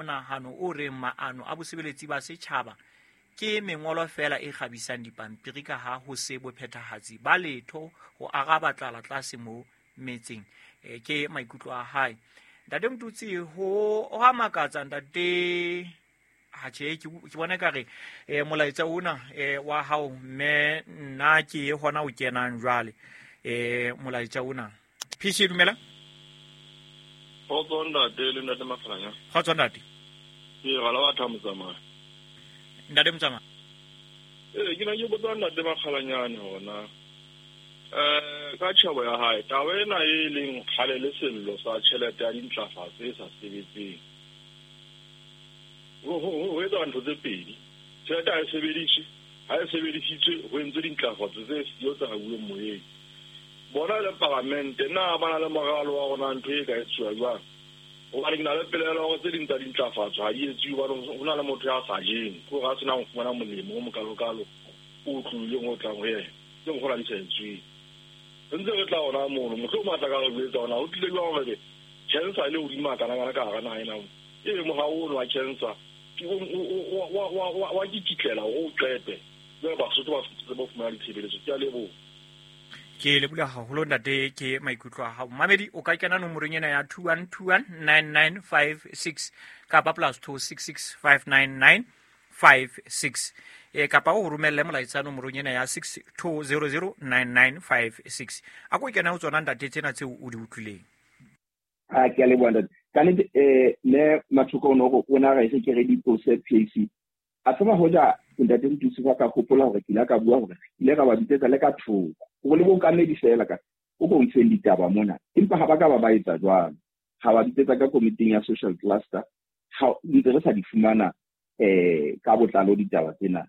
Monahano o reng maano a bosebeletsi ba setjhaba ke mengolo feela e kgabisang dipampiri ka ha ho se bophethahatsi ba letho ho araba tlala tlase mo metseng. Ke maikutlo a hae. Ntate Motutsi, ho a makatsa ntate. Ha tjhe, ke bona ekare molaetsa ona wa hao mme nna ke hona o kenang jwale. Molaetsa ona. PC dumela. Kgotso ntate le ntate Mafalanya. Kgotso ntate. Ke rala wa tha motsamaya. Ntate Motsamaya. Ke na ke botsa ntate Makgalanyane hona. Ka tjhebo ya hae, taba ena e leng kgale le sello sa tjhelete ya dintlafatso e sa sebetseng. Ho etsa ntho tse pedi. Tjhelete ha e sebediswe, ha e sebedisitswe ho entswe dintlafatso tse siyo tsa hauweng moyeng. Bona le palamente na ba na le moralo wa rona ntho e ka etsuwa jwang? Hobane ke na le pelaelo hore tse ding tsa dintlafatso ha di etsuwe hobane ho na le motho ya sa jeng, ke hore a senang ho fumana molemo o mokalokalo o tlohileng o tlang ho yena. Tse mokgona di sa etsuwe. Re ntse re tla hona mono, mohlomong a tla ka re jwetsa hore na ho tlile jwang hore cancer e le hodimo hakana-kana ka hara naha ena. Ebe mohau ono wa cancer wa kikitlela hore o qete. Jwale Basotho ba tsebe ho fumana ditshebeletso. Ke a leboha. Ke leboha haholo ntate, ke maikutlo a hao. Mamedi, o ka kena nomorong ena ya 21219956 kapa plus 266 59956. Kapa o romelle molaetsa nomorong ena ya 62009956. A ko kena ho tsona ntate tsena tseo o di utlwileng. A ke a leboha ntate. Ka nnete ne Mathoko o no re o na re se ke re di tlose PAC. A tseba hoja ntate Motutsi ba ka hopola hore ke ile ka bua hore ile ka ba bitsetsa le ka thoko. Hore le bookamedi feela ka o ko ntsheng ditaba mona. Empa ha ba ka ba ba etsa jwalo. Ha ba bitsetsa ka komiting ya social cluster, ha ntse re sa di fumana ka botlalo ditaba tsena.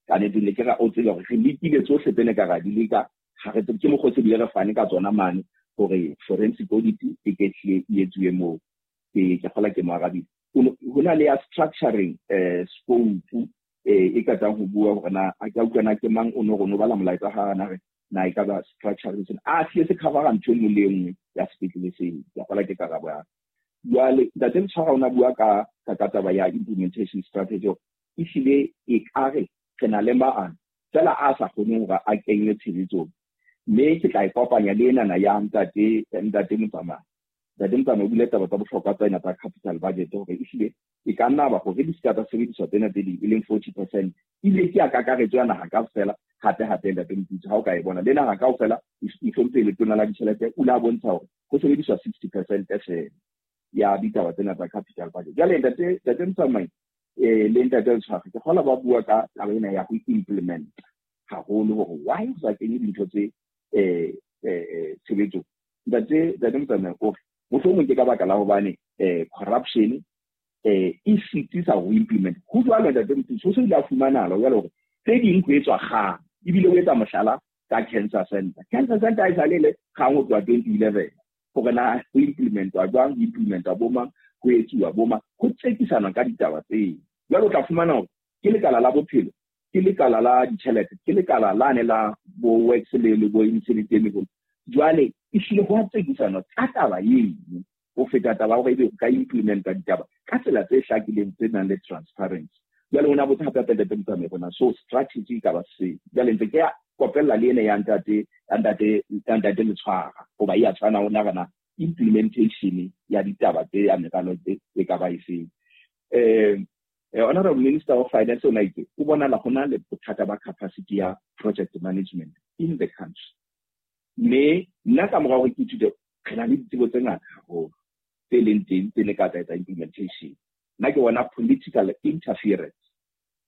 Ka nnete ne ke ra o tsebe hore re lekile tsohle tse ne ka ra di leka, ha re tsebe ke mokgwa o se bile re fane ka tsona mane hore forensic audit e ke tlile e etsuwe moo. Ke kgola ke mo arabile. Ho na le ya structuring scope e ka tsang ho bua hore na a ka utlwa na ke mang o no re no bala molaetsa ha na re na e ka ba structuring sena. A se se cover ntho e nngwe le e nngwe ya sepetlele seo. Ke kgola ke karabo ya. Jwale ntate Letshwara o na bua ka ka taba ya implementation strategy. Ehlile e ka re re na le maano fela a sa kgoneng hore a kenywe tshebetsong. Mme ke tla e kopanya le enana ya ntate Motsamai. Ntate Motsamai o bile taba tsa bohlokwa tsena tsa capital budget hore ehlile e ka nna ba hore di se ka tsa sebediswa tsena tse ding e leng 40%. Ebile ke ya kakaretso ya naha kaofela, hape hape ntate Motutsi ha o ka e bona le naha kaofela mohlomphehi letona la ditjhelete o la bontsha hore ho sebediswa 60% feela ya ditaba tsena tsa capital budget. Jwale ntate Motsamai le ntate Letshwara ke kgola ba bua ka taba ena ya ho implement haholo hore why ho sa kenye dintho tse tshebetsong. Ntate Motsamai o re mohlomong ke ka baka la hobane corruption e sitisa ho implement. Ho jwalo ntate Motutsi, ho se ile a fumanahala jwale hore tse ding ho etswa kgang, ebile o etsa mohlala ka Cancer Center. Cancer Center e sale le kgang ho tloha 2011 hore na ho implementwa jwang, ho implementwa bo mang, ho etsuwa bo mang, ho tsekisana ka ditaba tseo. Jwale o tla fumana hore ke lekala la bophelo, ke lekala la ditjhelete, ke lekala lane la bo works le bo mesebetsi e meholo. Jwale ehlile ho a tsekisana ka taba eno ho feta taba hore ebe o ka implementa ditaba ka tsela tse hlakileng tse nang le transparency. Jwale o na botsa hape hape ntate Motsamai hore na so strategy e ka ba se. Jwale ntse ke ya kopella le ena ya ntate Letshwara hoba e a tshwana ho nahana implementation ya ditaba tse ya meralo tse e ka ba efeng. Honorable Minister of Finance o na itse o bonala ho na le bothata ba capacity ya project management in the country. Mme nna ka mora hore ke ithute re na le ditsebo tse ngata haholo tse leng teng tse ne ka tsa etsa implementation. Nna ke bona political interference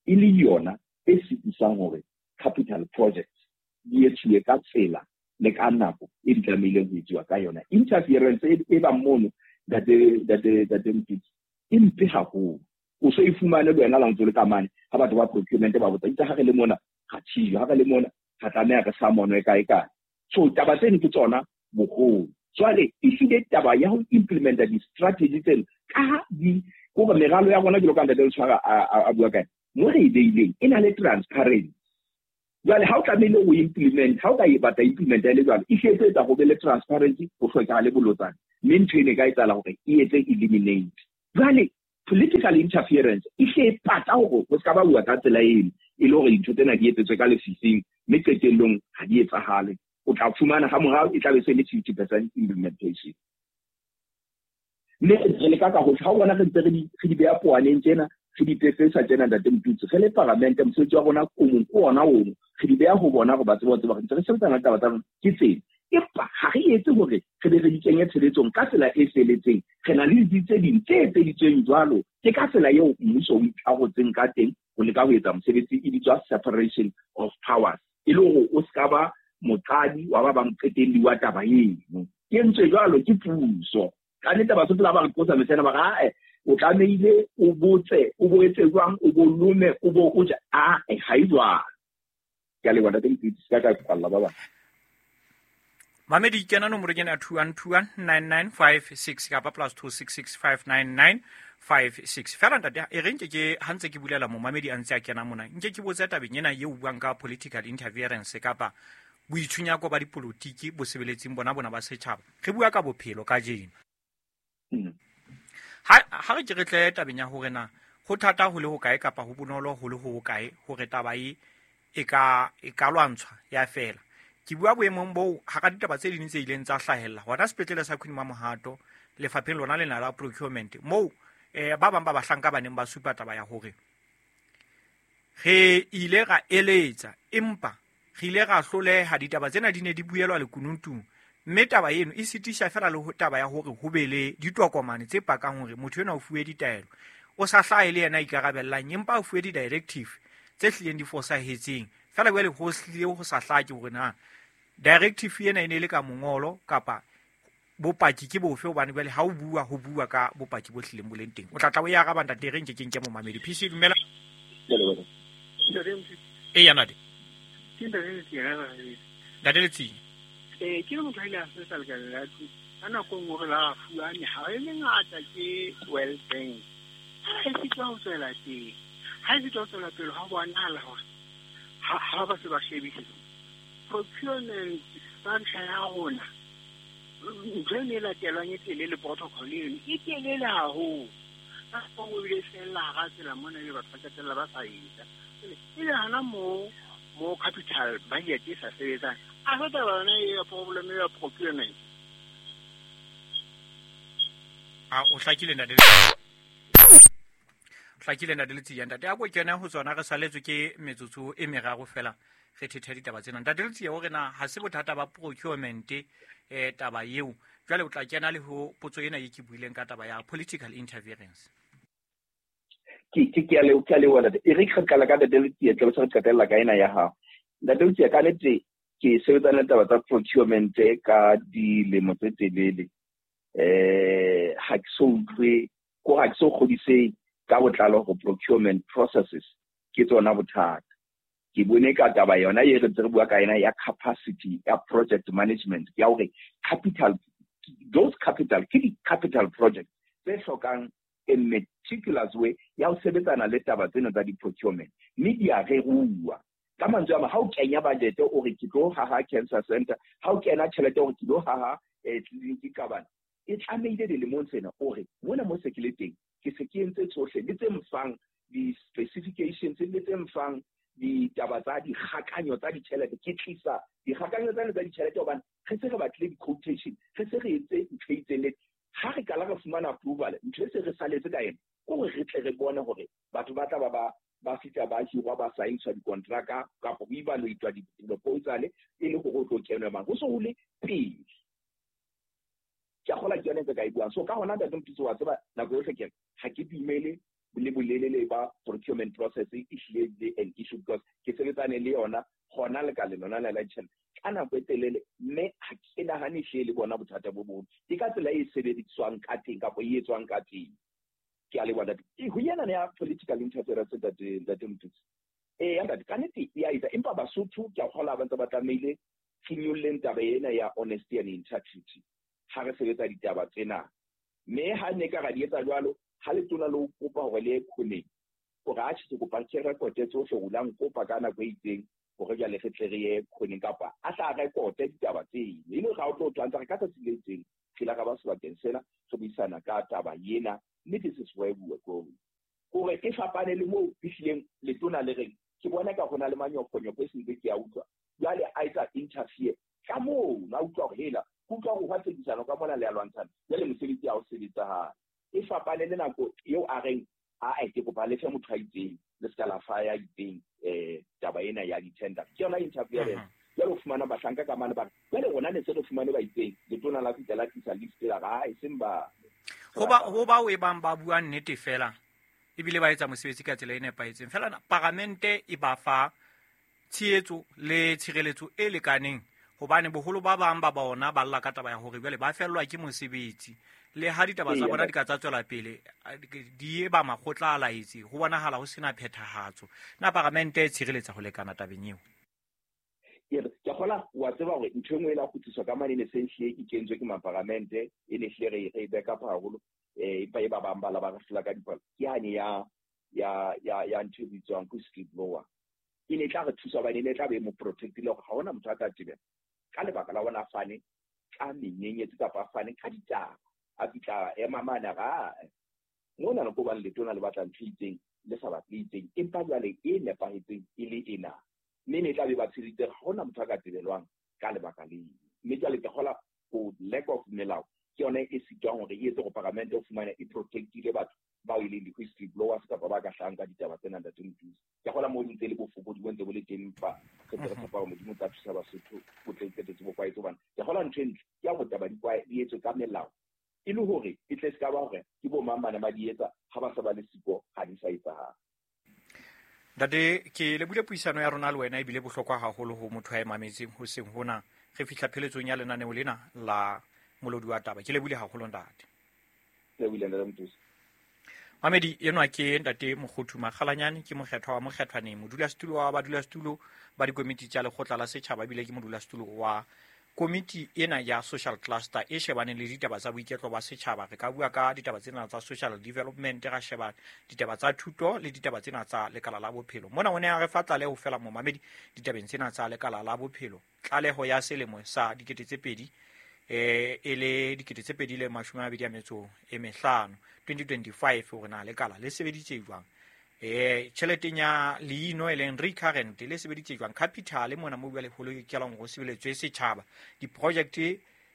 e le yona e sitisang hore capital projects di etsuwe ka tsela le ka nako e di tlamehileng ho etsuwa ka yona. Interference e bang mono ntate Motutsi e mpe haholo. O so e fumane le wena la ntse le ka mane ha batho ba procurement ba botsa itse ha re le mona ga tshijwe, ha re le mona ga tlameha re sa monwe kae kae. So taba tseno ke tsona boholo. Jwale ehlile taba ya ho implementa di-strategy tseno ka ha di hore meralo ya rona jwalo ka ntate Letshwara a bua kae mo re e beileng e na le transparency. Jwale ha o tlamehile o implement, ha o ka e batla implement e le jwalo, e hle e tlo etsa ho be le transparency, ho hlokahala le bolotsana. Mme ntho ena e ka etsahala hore e etse eliminate. Jwale Political interference e hle e pata hore ho ska ba bua ka tsela eno, e le hore dintho tsena di etsetswe ka lefifing, mme qetellong ha di etsahale. O tla fumana ha morao e tla be se le 50% implementation. Mme re leka ka hohle, ha o bona re ntse re di beha poaneng tjena, re di pepesa tjena, Ntate Motutsi, re le paramente, mosebetsi wa rona o mong ke ona ono, re di beha ho bona hore ba tsebe ho tseba re ntse re sebetsana le taba tsa rona ke tsena. Empa ha re etse hore re be re di kenye tshebetsong ka tsela e feletseng. Re na le ditsi tse ding tse etseditsweng jwalo, ke ka tsela eo mmuso o ikarotseng ka teng ho leka ho etsa mosebetsi, e bitswa separation of powers, e le hore o ska ba moqadi wa ba ba moqetelli wa taba eno. Ke entswe jwalo ke puso. Ka nnete Basotho la ba re qosa mehla ena, ba re, ae, o tlamehile o botse, o bo etse jwang, o bo lome, o bo o ja. Ae, ha e jwalo. Ke a leboha, Ntate Motutsi, se ka ka kwalla ba bang. Mamedi, kena nomorong ena ya 21219956 kapa +26659956. Fela ntate, e re nke ke ha ntse ke bulela momamedi a ntse a kena mona, nke ke botse tabeng ena eo buang ka political interference kapa boitshunyako ba dipolotiki bo sebeletsing bona bona ba setjhaba. Re bua ka bophelo kajeno. Ha re ke re tle tabeng ya hore na ho thata ho le hokae kapa ho bonolo ho le ho hokae hore taba e e ka lwantshwa ya fela. Ke bua boemong boo hara ditaba tse ding tse ileng tsa hlahella hona sepetlele sa Queen Mamohato lefapheng lona lena la procurement, moo ba bang ba bahlanka ba neng ba supa taba ya hore re ile ra eletsa empa re ile ra hloleha, ditaba tsena di ne di buelwa lekunutung, mme taba eno e sitisha fela le ho taba ya hore ho be le ditokomane tse pakang hore motho enwa o fuwe ditaelo, o sa hlahe le yena a ikarabellang, empa o fuwe di-directive tse hlileng di fosahetseng. Fela jwale ho hlile ho sa hlake hore na directive ena e ne e le ka mongolo kapa bopaki ke bofe, hobane jwale ha o bua ho bua ka bopaki bo hlileng bo leng teng. O tla tla o e araba ntate, re nke ke nke momamedi. PC, dumela. Eya ntate. Ntate Letsie. Ke le motho a ile a sebetsa lekaleng la thuto. Ka nako e nngwe re la ra fuwa mehaho e mengata ke World Bank. Ha e sitwa ho tswela pele. Ha e sitwa ho tswela pele, ha bonahala hore ha ba se ba shebisisa procurement structure ya rona, ntho e ne e latelwang e telele, protocol eno e telele haholo. Ka nako e nngwe ebile e fella hara tsela mona, ebe batho ba qetella ba sa etsa. Ebe hana moo capital budget e sa sebetsang, a se taba yona e ya problem ya procurement. A o hlakile ntate. Hlakile ntate Letsie. Ntate a ko kena ho tsona, re saletswe ke metsotso e meraro fela re thethe ditaba tsena. Ntate Letsie, hore na ha se bothata ba procurement taba eo. Jwale o tla kena le ho potso ena e ke buileng ka taba ya political interference. Ke a leboha ntate. E re ke qala ka Ntate Letsie, tle re qetella ka ena ya hao. Ntate Letsie, ka nnete ke sebetsana le taba tsa procurement ka dilemo tse telele. Ha ke so utlwe, ko ha ke so kgodise ka botlalo ho procurement processes ke tsona bothata. Ke bone ka taba yona e re ntse re bua ka yena ya capacity ya project management, ya hore capital, those capital ke di capital project tse hlokang a meticulous way ya ho sebetsana le taba tsena tsa di-procurement, mme di a reruwa. Ka mantswe a mang, ha o kenya budget o re ke tlo haha cancer center, ha o kena tjhelete o re ke tlo haha clinic ka bana, e tlamehile dilemong tsena o re mona mo se ke le teng, ke se ke entse tsohle le tse mfang di-specifications le tse mfang ditaba tsa dikgakanyo tsa ditjhelete. Ke tlisa dikgakanyo tsane tsa ditjhelete hobane re se re batlile di-quotation, re se re etse ntho e itseng le ha re qala re fumana approval, ntho e se re saletse ka yona ke hore re tle re bone hore batho ba tla ba fihla ba hirwa, ba saintshwa dikontraka kapa ho evaluatwa di-proposal e le hore o tlo kenwe mang, ho so ho le pele. Ke a kgolwa ke yona e ntse ka e buang. So ka hona Ntate Motutsi, wa tseba nako yohle ke re ha ke dumele le bolelele ba procurement process e hlile le an issue, because ke sebetsane le yona hona lekaleng lona la ditjhelete ka nako e telele, mme ha ke nahane ehlile le bona bothata bo boholo. Ke ka tsela e sebediswang ka teng kapa e etswang ka teng. Ke a leboha ntate. Ho yena ya political interference ntate Motutsi. Eya ntate, ka nnete e a etsa, empa Basotho ke a kgolwa ba ntse ba tlamehile re nyolleng taba ena ya honesty and integrity ha re sebetsa ditaba tsena. Mme ha ne ka ra di etsa jwalo, ha letona le o kopa hore le ye khoneng, hore atjhe ke kopa ke rekote tsohle, o la nkopa ka nako e itseng hore jwale re tle re ye khoneng, kapa a tla rekote ditaba tseno. E le hore ha o tlo twantsa re ka tsatsi le itseng, re ile ra ba sebakeng sena re buisana ka taba ena, Mme this is where we were going. Hore e fapane le moo fihlileng letona le reng ke bona ka hona le manyofonyofo e sentse ke a utlwa. Jwale a etsa interfere ka moo na utlwa hore hela utlwa hore hwa tsekisano ka mona le a lwantshana. Jwale mosebetsi ha o sebetsahale. E fapane le nako eo a reng a ke kopa le fe motho a itseng le ska la fa ya itseng taba ena ya di-tender. Ke yona interference. Jwale o fumana bahlanka ka mane ba re jwale rona ne se re fumane ba itseng letona la fihla la tlisa list la re e seng ba ho ba o e bang ba bua nnete fela ebile ba etsa mosebetsi ka tsela e nepahetseng fela paramente e ba fa tshehetso le tshireletso e lekaneng hobane boholo ba bang ba bona ba lla ka taba ya hore jwale ba fellwa ke mosebetsi le ha ditaba tsa bona di ka tsa tswela pele di e ba makgotla a laetse ho bonahala ho sena phethahatso. Na paramente e tshireletsa ho lekana tabeng eo? Ke kgola wa tseba hore ntho e nngwe e la kgutliswa ka mane ne se hlile e kentswe ke maparamente e ne hlile re e back up haholo empa e ba bang ba la ba re hlola ka dipalo ke hane ya ya ya ya ntho e bitswang whistleblower. E ne tla re thusa hobane e ne tla be mo protectile hore ha hona motho a tla tebela ka lebaka la ona fane ka menyenyetsi kapa fane ka ditaba a fihla ema mane ra mona le ko bang letona le batla ntho e itseng le sa batle itseng empa jwale e nepahetseng e le ena mme ne tla be ba tshiriditse ha hona motho a ka tebelwang ka lebaka leo. Mme jwale ke kgola ho lack of melao ke yona e sitwang hore e etse hore paramente o fumane e protectile batho bao e leng di-whistleblowers kapa ba ka hlahang ka ditaba tsena ntate Mothusi. Ke kgola moo ntse le bofokodi bo ntse bo le teng empa re ntse re tshepa hore Modimo o tla thusa Basotho bo tle qetetse bo kwaetse hobane ke kgola ntho e ntle ke ya hore taba di etswe ka melao e le hore e tle se ka ba hore ke bo mang bana ba di etsa ha ba sa ba le siko ha di sa etsahala. Ntate, ke lebile puisano ya rona le wena ebile bohlokwa haholo ho motho a e mametseng hoseng hona. Re fihla pheletsong ya lenaneo lena la Molodi wa Taba. Ke lebile haholo ntate. Lebile ntate Mothusi. Mamedi enwa ke ntate Mokhothu Makgalanyane, ke mokgethwa wa Mokgethwaneng, modulasetulo wa badulasetulo ba dikomiti tsa lekgotla la setjhaba ebile ke modulasetulo wa komiti ena ya social cluster e shebaneng le ditaba tsa boiketlo ba setjhaba. Re ka bua ka ditaba tsena tsa social development, ra sheba ditaba tsa thuto le ditaba tsena tsa lekala la bophelo. Mona o ne a re fa tlaleho fela momamedi ditabeng tsena tsa lekala la bophelo. Tlaleho ya selemo sa 2000 e le 2025 2025 hore na lekala le sebeditse jwang. Tjheleteng ya leino e leng recurrent le sebeditse jwang, capital mona mo bua le holo kelang ho sebeletswe setjhaba, di-project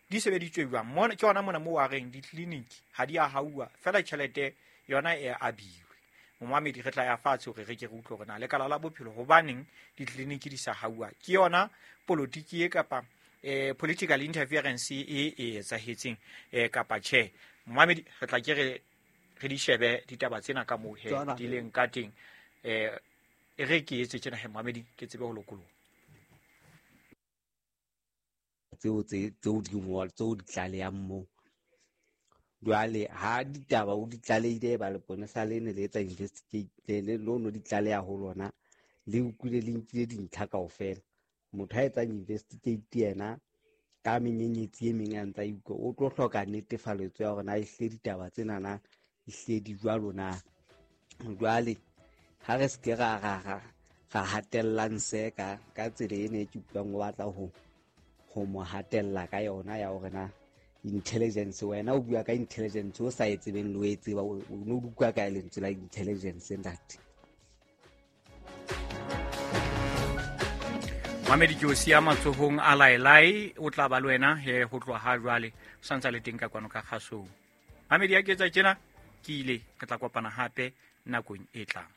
di sebeditswe jwang. Mona ke yona mona mo wa reng di-clinic ha di a hauwa fela tjhelete yona e abiwe. Momamedi re tla ya fatshe hore re ke re utlwe hore na lekala la bophelo hobaneng di-clinic di sa hauwa. Ke yona politiki e kapa political interference e etsahetseng kapa tjhe. Momamedi re tla ke re di shebe ditaba tsena ka moo he di leng ka teng. E re ke etse tjena he momamedi ke tsebe ho lokoloha tseo tseo di ngola tseo di tlalehang moo. Jwale ha ditaba o di tlalehile ba leponesa le ne le etsa investigate le lono di tlaleha ho lona le utlwile le nkile dintlha kaofela. Motho ha etsang investigate yena ka menyenyetsi e meng a ntsa utlwa o tlo hloka netefaletso ya hore na ehlile ditaba tsena na ehlile di jwalo na. Jwale ha re se ke ra hatellang se ka tsela ena e ke utlwang o batla ho mo hatella ka yona ya hore na intelligence, wena o bua ka intelligence o sa e tsebeng le o e tseba o no utlwa ka lentswe la intelligence ntate. Mamedi ke o siya matsohong a laelai o tla ba le wena he ho tloha ha jwale o santsa le teng ka kwano ka kgasong. Mamedi ya ke etsa tjena ke ile re tla kopana hape nakong e tlang.